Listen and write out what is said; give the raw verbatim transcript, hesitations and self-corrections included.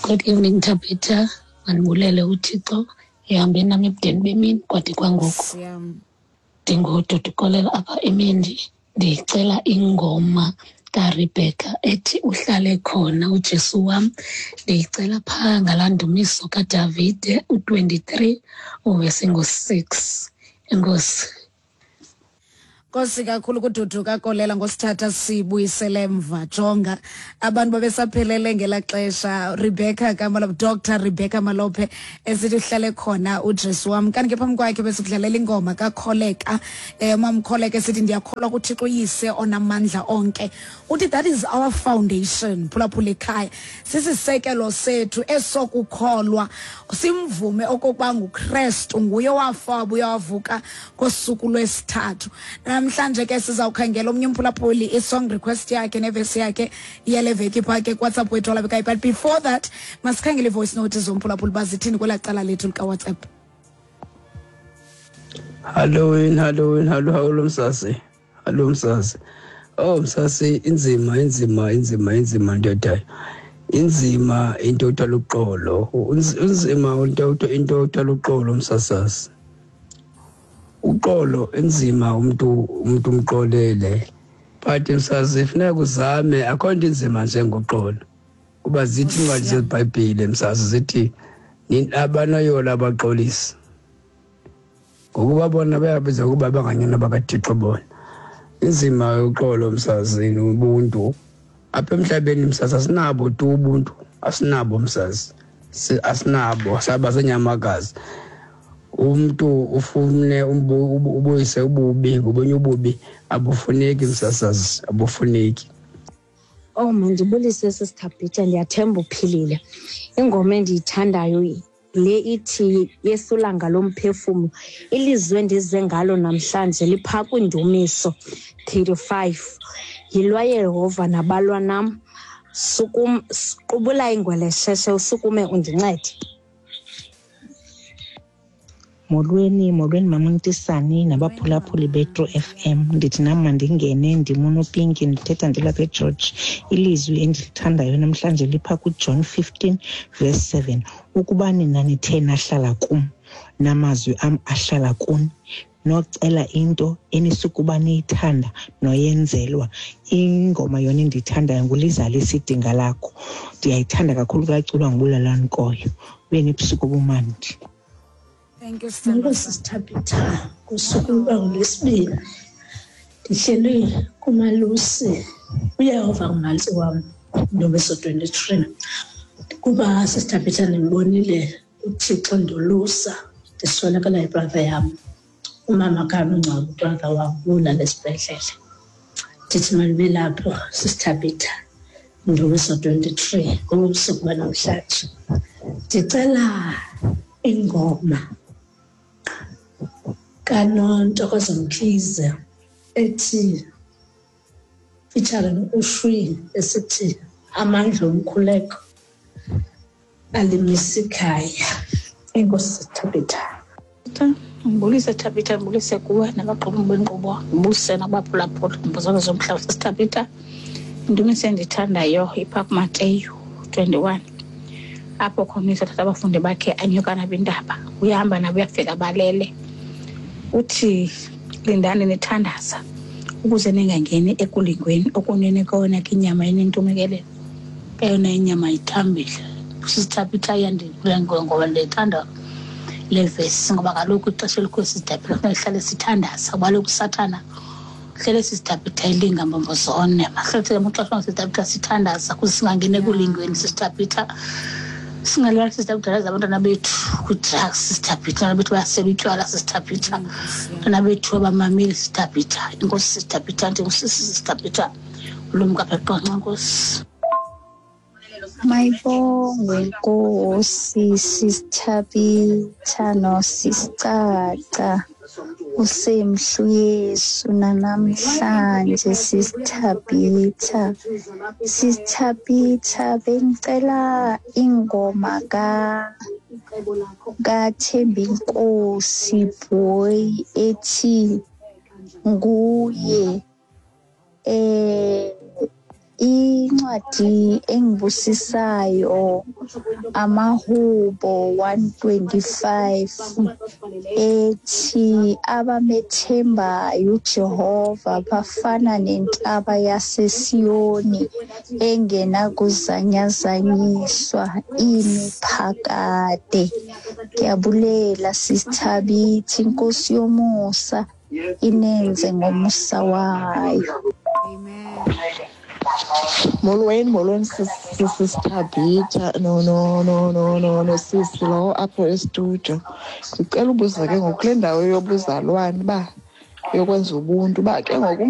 Good evening, Tabitha. Mandibulele uThixo ehambe nam ebudeni bemini kwade kwangoku. Ndingududukolela apha emini, ndicela ingoma kaRebecca ethi uhlale khona uJesu wam. Ndiyicela phaa ngalaa ndumiso kaDavide u-twenty-three uvesi ngo-six. Enkosi. Nkosi kakhulu kuDudu kaKolela ngosithatha sibuyisele emva. Jonga abantu babesaphelele ngelaa xesha. Rebecca kaMalope, Doctor Rebecca Malope esithi uhlale khona uJesu wam. Kanti ke phambi kwakhe besikudlalela ingoma kaKholeka, eh uMamkholeka esithi ndiyakholwa kuThixo uyise onamandla onke. Uthi that is our foundation, phulaphula ekhaya. Sisisekelo sethu esokukholwa, simvume okokuba nguKrestu nguye owafa wabuya wavuka ngosuku lwesithathu. Namhlanje ke sizawukhangela omnye umphulaphuli i-song request yakhe nevesi yakhe yale veki phaa ke kuWhatsApp wethu olabekayo. But before that, masikhangele i-voice note zomphulaphuli bazithini kwelaa cala lethu likaWhatsApp. Halloween, Halloween, hallo, hallo msasi. Hallo msasi. Oh msasi, inzima, inzima, inzima, inzima ndoda. Inzima into yokuthwala uxolo. Inzima into into yokuthwala uxolo msasasi. Uxolo inzima umuntu umuntu umxolele. But msasi funeka uzame, akho nto inzima njengoxolo. Kuba zithi incwadi zeBhayibhile msasi zithi abanoyola abaxolisi. Ngokuba bona bayabiza ukuba banganyana bakaThixo bona. Inzima uxolo msasi nobuntu. Apha emhlabeni msasi asinabo tu ubuntu, asinabo msasi. Asinabo, saba senyamakazi. Umuntu ufune ubuyise ububi, ngobunye ububi abufuneki msasazi, abufuneki. Oh, mandibulise sisiThabitha, ndiyathemba uphilile. Ingoma endiyithandayo le ithi yesulanga lomphefumlo. Ilizwe endize ngalo namhlanje liphaa kwindumiso thirty-five. Yilwa Yehova nabalwa nam, sukum qubula ingwelesheshe usukume undincede. Molweni, molweni mama Ntisani nabaphulaphuli beTru F M. Ndithi nam mandingene, ndimunopinki, ndithetha ndilapha eGeorge. Ilizwi endilithandayo namhlanje lipha kuJohn fifteen verse seven. Ukuba nina nithe nahlala kum, namazwi am ahlala kuni, nocela into enisukuba niyithanda noyenzelwa. Ingoma yona endiyithandayo ngulizalisa idinga lakho. Ndiyayithanda kakhulu xa iculwa nguBulalani Nkoyo. Ube nebusuku obumandi. Thank you, Molo sisiThabitha, kusuku lwesibini ndihleli kumalusi, uYehova ngumalusi wam, Ndumiso twenty-three. Kuba sisiThabitha ndimbonile uThixo ndolusa, ndiswelekela ibrother yam, umama kaMngcwabo, brother wam ulala esibhedlele. Ndithi mandibe lapho sisiThabitha, Ndumiso twenty-three, ngobusuku banamhlanje. Ndicela ingoma kaNontokozo Mkhize ethi featuring uShwi esithi amandla omkhuleko alimisa ikhaya. Enkosi Thabitha. Ngibulise Thabitha, ngibulise kuwe nabaqhubi benkqubo, ngibulise nabaphulaphuli ngibuzana zomhlaba sisiThabitha. Indumiso endiyithandayo ipha kuMateyu twenty-one. Apho khona uthatha abafundi bakhe anyuka nabo intaba, uyahamba nabo uyafika balele. Uthi lindani nithandaza ukuze ningangeni ekulingweni, okunene kona ke inyama inentumekelelo, eyona inyama ithambile. SisiThabitha iyandikule ngoba ndiyithanda le vesi ngoba kaloku ixesha elikhulu sisiThabitha kufuneka sihlale sithandaza, kuba kaloku uSathana hlele sisiThabitha ilinga mbombo zone. Mahlale amaxesha sisiThabitha sithandaza ukuze singangeni ekulingweni sisiThabitha. Singalala sisiThabitha abantwana bethu kwi-drugs sisiThabitha, abantwana bethu bayasela utywala sisiThabitha, abantwana bethu abamameli sisiThabitha. Inkosi sisiThabitha, ndingusisi sisiThabitha, ulumka apha eQonce. Nkosi. Mayibongwe Nkosi sisiThabitha noSisicaca, usemhlu Yesu nanamhlanje sisiThabitha. SisiThabitha bengicela ingoma ka kaThembinkosi Boy ethi nguye eh Incwadi engibusisayo Amahubo one twenty-five ethi abamethembayo uJehova bafana nentaba yaseSiyoni engenakuzanyazanyiswa imi phakade. Ngiyabulela sisithabithi, inkosi yomusa inenze ngomusa wayo. Amen. Molweni, molweni sisithabitha no no no no no no sisi lo apho estudio. Ndicela ubuza ke ngoku kule ndawo yobuzalwane uba yokwenza ubuntu uba ke ngoku